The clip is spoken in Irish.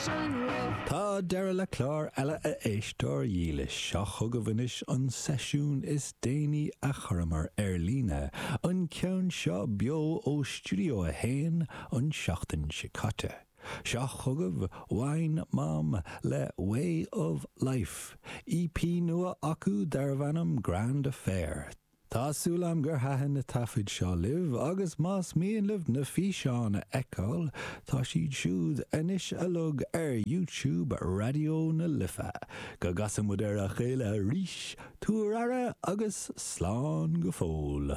Tá deireadh le clár eile a éisteoir dhílis. Seo chugaibh anois an seisiún is déanaí a chuireamar ar líne, an ceann seo beo ó Stiúideo 1 an tseachtain seo caite. Seo chugaibh Wine Mom le Way of Life, EP nua acu darbh ainm Grand Affair. Tá súil agam gur thaitin na taifid seo libh agus más mian libh na físeáin a fheiceáil, tá siad siúd anois uilig ar YouTube Raidió na Life. Go gcasa muid ar a chéile arís, tabhair aire agus slán go fóill.